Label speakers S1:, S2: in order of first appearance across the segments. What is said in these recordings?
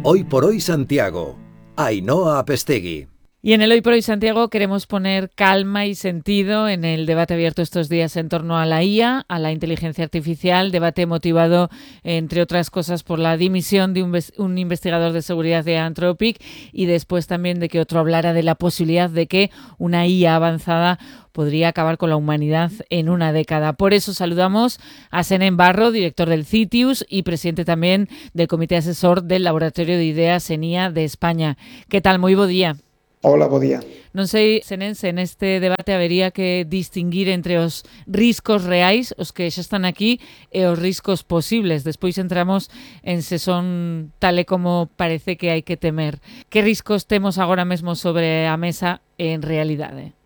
S1: Hoy por hoy Santiago. Ainhoa Apestegui.
S2: Y en el Hoy por Hoy Santiago queremos poner calma y sentido en el debate abierto estos días en torno a la IA, a la inteligencia artificial, debate motivado, entre otras cosas, por la dimisión de un investigador de seguridad de Anthropic y después también de que otro hablara de la posibilidad de que una IA avanzada podría acabar con la humanidad en una década. Por eso saludamos a Senén Barro, director del CITIUS y presidente también del Comité Asesor del Laboratorio de Ideas ENIA de España. ¿Qué tal? Moi bo día.
S3: Hola, bo día.
S2: Non sei, Senén, se neste debate habería que distinguir entre os riscos reais, os que xa están aquí, e os riscos posibles. Despois entramos en se son tal e como parece que hai que temer. Que riscos temos agora mesmo sobre a mesa en realidade?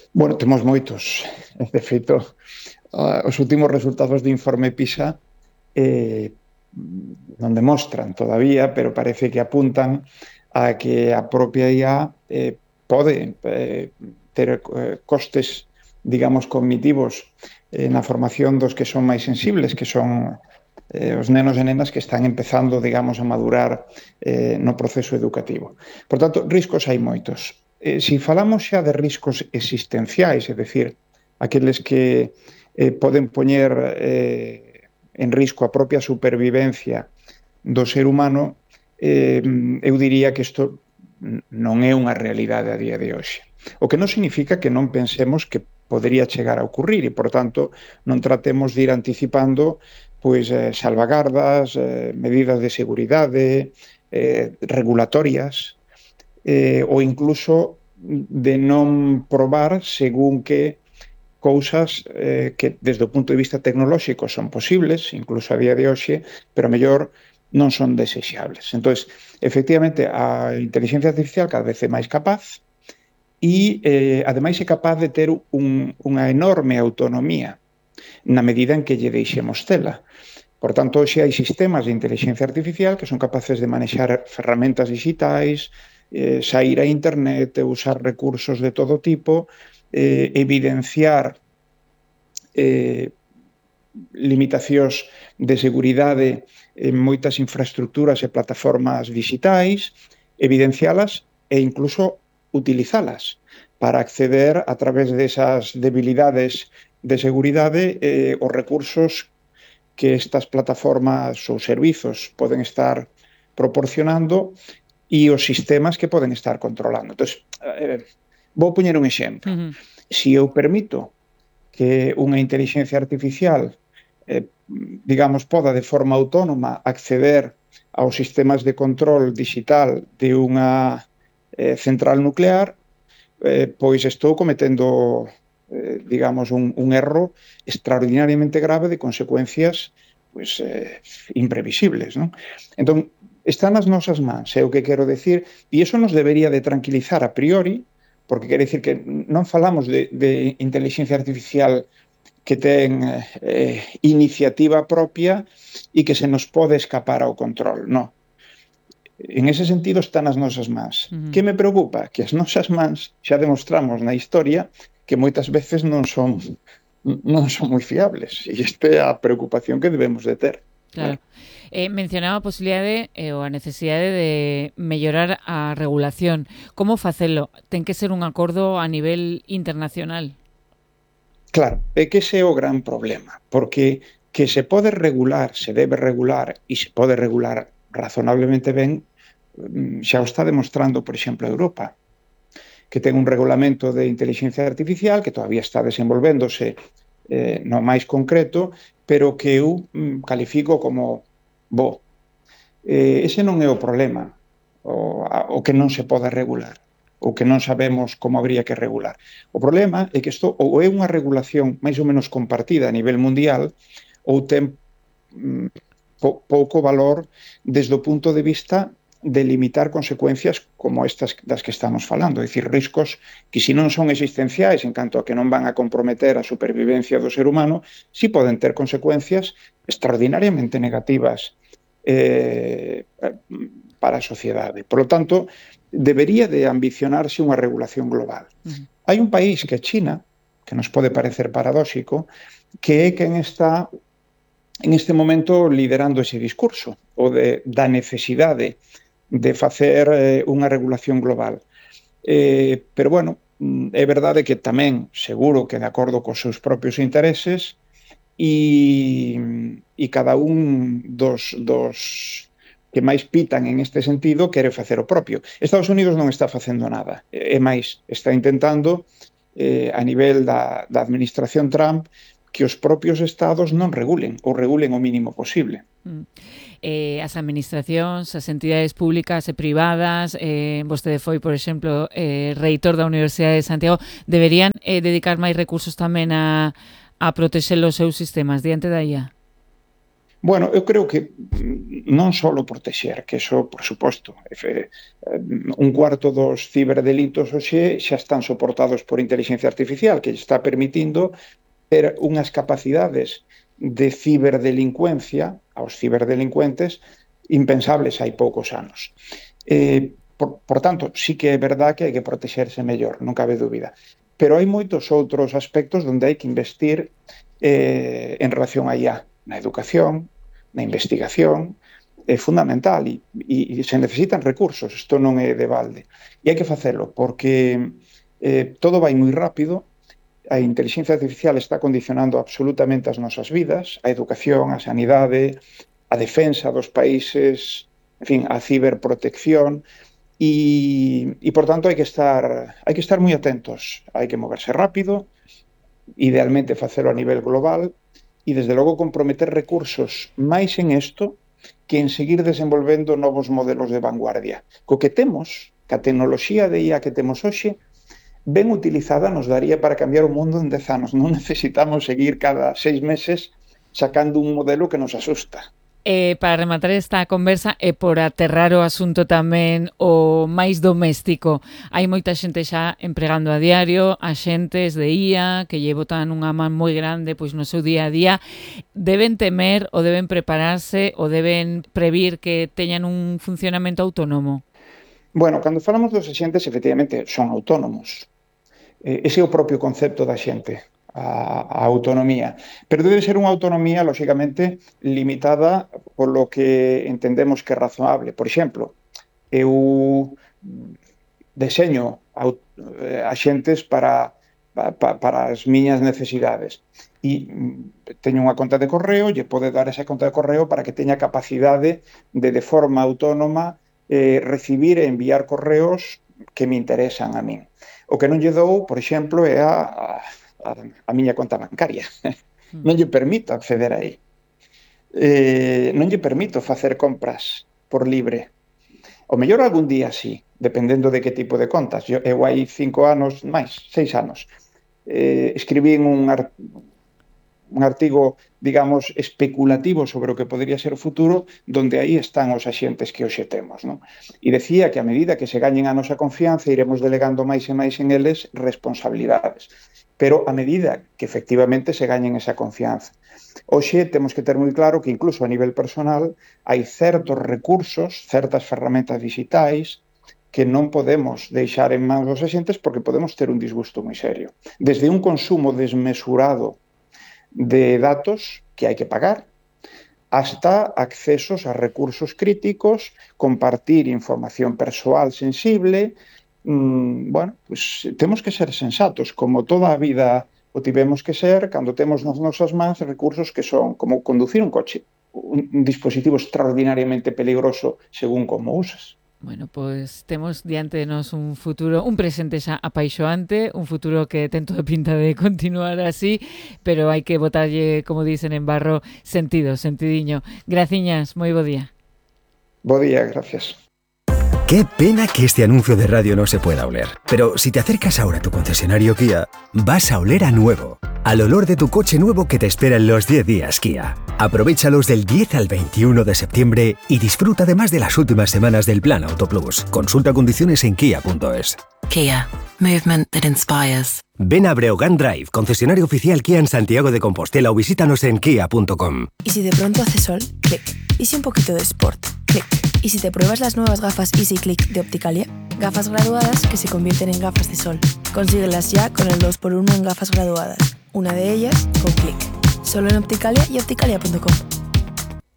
S3: Bueno, temos moitos. De feito, os últimos resultados do informe PISA non demostran todavía, pero parece que apuntan a que a propia IA pode ter costes, digamos, cognitivos na formación dos que son máis sensibles, que son os nenos e nenas que están empezando, digamos, a madurar no proceso educativo. Por tanto, riscos hai moitos. Se falamos xa de riscos existenciais, é dicir, aqueles que poden poñer en risco a propia supervivencia do ser humano, eu diría que isto non é unha realidade a día de hoxe. O que non significa que non pensemos que podería chegar a ocurrir e, por tanto, non tratemos de ir anticipando pois salvagardas, medidas de seguridade, regulatorias, ou incluso de non probar según que cousas que desde o punto de vista tecnolóxico son posibles, incluso a día de hoxe, pero mellor non son desexables. Entón, efectivamente, a inteligencia artificial cada vez é máis capaz e, ademais, é capaz de ter unha enorme autonomía na medida en que lle deixemos tela. Por tanto, hoxe hai sistemas de inteligencia artificial que son capaces de manexar ferramentas digitais, sair a internet, usar recursos de todo tipo, evidenciar limitacións de seguridade en moitas infraestructuras e plataformas digitais, evidencialas e incluso utilizalas para acceder a través desas debilidades de seguridade os recursos que estas plataformas ou servizos poden estar proporcionando e os sistemas que poden estar controlando. Entón, vou poñer un exemplo. Se eu permito que unha inteligencia artificial digamos, poda de forma autónoma acceder aos sistemas de control digital de unha central nuclear, pois estou cometendo, digamos, un erro extraordinariamente grave de consecuencias pois, imprevisibles, non? Entón, está nas nosas mans, é o que quero decir, e iso nos debería de tranquilizar a priori, porque quere dicir que non falamos de inteligencia artificial que ten iniciativa propia e que se nos pode escapar ao control. Non. En ese sentido está nas nosas mans. Que me preocupa? Que as nosas mans xa demostramos na historia que moitas veces non son moi fiables. E esta é a preocupación que debemos de ter.
S2: Claro. Mencionaba a posibilidade ou a necesidade de mellorar a regulación. Como facelo? Ten que ser un acordo a nivel internacional?
S3: Claro, é que ese é o gran problema, porque que se pode regular, se debe regular e se pode regular razonablemente ben, xa o está demostrando, por exemplo, Europa, que ten un regulamento de inteligencia artificial que todavía está desenvolvéndose no máis concreto, pero que eu califico como bo. Ese non é o problema, o que non se pode regular, o que non sabemos como habría que regular. O problema é que isto ou é unha regulación máis ou menos compartida a nivel mundial ou ten pouco valor desde o punto de vista de limitar consecuencias como estas das que estamos falando, é dicir, riscos que se non son existenciais en canto a que non van a comprometer a supervivencia do ser humano, si poden ter consecuencias extraordinariamente negativas para a sociedade. Por lo tanto, debería de ambicionarse unha regulación global. Hai un país que é China, que nos pode parecer paradóxico, que é quen está en este momento liderando ese discurso da necesidade de facer unha regulación global. Pero, bueno, é verdade que tamén, seguro que de acordo cos seus propios intereses, e cada un dos que máis pitan en este sentido quere facer o propio. Estados Unidos non está facendo nada, é máis, está intentando a nivel da administración Trump que os propios estados non regulen ou regulen o mínimo posible.
S2: As administracións, as entidades públicas e privadas, vostede foi, por exemplo, reitor da Universidade de Santiago, deberían dedicar máis recursos tamén a protexer os seus sistemas diante da IA?
S3: Bueno, eu creo que non só protexer, que eso, por suposto, un cuarto dos ciberdelitos hoxe xa están soportados por inteligencia artificial, que está permitindo ter unhas capacidades de ciberdelincuencia aos ciberdelincuentes impensables hai poucos anos. Por tanto, sí que é verdad que hai que protexerse mellor, non cabe dúbida. Pero hai moitos outros aspectos onde hai que investir en relación a IA, na educación, na investigación, é fundamental e se necesitan recursos, isto non é de balde. E hai que facelo porque todo vai moi rápido. A inteligencia artificial está condicionando absolutamente as nosas vidas, a educación, a sanidade, a defensa dos países, en fin, a ciberprotección e por tanto hai que estar moi atentos, hai que moverse rápido, idealmente facelo a nivel global e desde logo comprometer recursos máis en isto que en seguir desenvolvendo novos modelos de vanguardia. Co que temos, ca tecnoloxía de IA que temos hoxe, ben utilizada nos daría para cambiar o mundo en 10 anos. Non necesitamos seguir cada 6 meses sacando un modelo que nos asusta.
S2: Para rematar esta conversa e por aterrar o asunto tamén o máis doméstico, hai moita xente xa empregando a diario axentes de IA que lle botan unha man moi grande pois no seu día a día. Deben temer ou deben prepararse ou deben previr que teñan un funcionamento autónomo?
S3: Bueno, cando falamos dos axentes, efectivamente, son autónomos. Ese é o propio concepto da xente, a autonomía. Pero debe ser unha autonomía, lóxicamente, limitada polo que entendemos que é razonable. Por exemplo, eu deseño axentes para as miñas necesidades e teño unha conta de correo, lle pode dar esa conta de correo para que teña capacidade de forma autónoma recibir e enviar correos que me interesan a min. O que non lle dou, por exemplo, é a miña conta bancaria. Non lle permito acceder aí. Non lle permito facer compras por libre. O mellor algún día sí, dependendo de que tipo de contas. Eu hai 5 anos, máis, 6 anos, escribín un artigo, digamos, especulativo sobre o que podría ser o futuro, donde aí están os axentes que hoxe temos, non? E decía que a medida que se gañen a nosa confianza, iremos delegando máis e máis en eles responsabilidades. Pero a medida que efectivamente se gañen esa confianza. Hoxe temos que ter moi claro que incluso a nivel personal hai certos recursos, certas ferramentas digitais que non podemos deixar en mans dos axentes porque podemos ter un disgusto moi serio. Desde un consumo desmesurado de datos que hai que pagar, hasta accesos a recursos críticos, compartir información persoal sensible. Bueno, pues temos que ser sensatos, como toda a vida o tivemos que ser cando temos nas nosas mans recursos que son como conducir un coche, un dispositivo extraordinariamente peligroso según como usas.
S2: Bueno, pois temos diante de nos un futuro, un presente xa apaixoante, un futuro que ten toda pinta de continuar así, pero hai que botarlle, como dicen en barro, sentidiño. Graciñas, moi bo día.
S3: Bo día, gracias.
S4: Qué pena que este anuncio de radio no se pueda oler. Pero si te acercas ahora a tu concesionario Kia, vas a oler a nuevo. Al olor de tu coche nuevo que te espera en los 10 días Kia. Aprovéchalos del 10 al 21 de septiembre y disfruta además de las últimas semanas del Plan Auto Plus. Consulta condiciones en kia.es.
S5: Kia. Movement that inspires.
S4: Ven a Breogán Drive, concesionario oficial Kia en Santiago de Compostela o visítanos en kia.com.
S6: ¿Y si de pronto hace sol? Clic. ¿Y si un poquito de sport? Clic. ¿Y si te pruebas las nuevas gafas Easy Click de Opticalia? Gafas graduadas que se convierten en gafas de sol. Consíguelas ya con el 2x1 en gafas graduadas. Una de ellas con Clic. Solo en Opticalia y opticalia.com.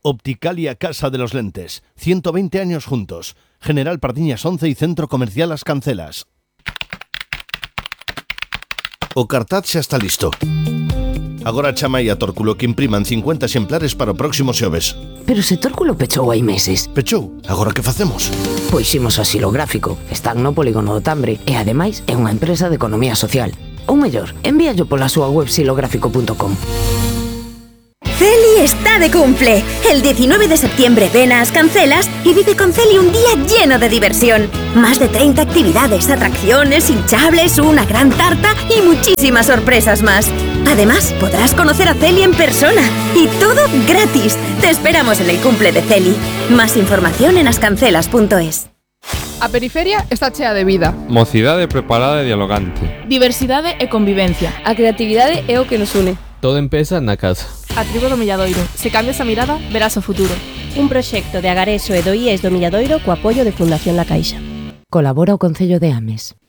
S7: Opticalia Casa de los Lentes. 120 años juntos. General Pardiñas 11 y Centro Comercial As Cancelas. O cartaz xa está listo. Agora chama a Tórculo que impriman 50 exemplares para o próximo xoves.
S8: Pero se Tórculo pechou hai meses.
S7: Pechou? Agora que facemos?
S8: Pois ximos a Xilográfico. Están no Polígono do Tambre e ademais é unha empresa de economía social. Ou mellor, envíallo pola súa web xilográfico.com.
S9: Celi está de cumple. El 19 de septiembre ven a As Cancelas y vive con Celi un día lleno de diversión. Más de 30 actividades, atracciones, hinchables, una gran tarta y muchísimas sorpresas más. Además, podrás conocer a Celi en persona. Y todo gratis. Te esperamos en el cumple de Celi. Más información en ascancelas.es.
S10: A periferia está chea de vida.
S11: Mocidade preparada e dialogante.
S12: Diversidade e convivencia.
S13: A creatividade é o que nos une.
S11: Todo empeza na casa.
S12: A tribo do Milladoiro. Se cambias a mirada, verás o futuro.
S14: Un proxecto de Agareso e do IES do Milladoiro co apoio de Fundación La Caixa.
S15: Colabora o Concello de Ames.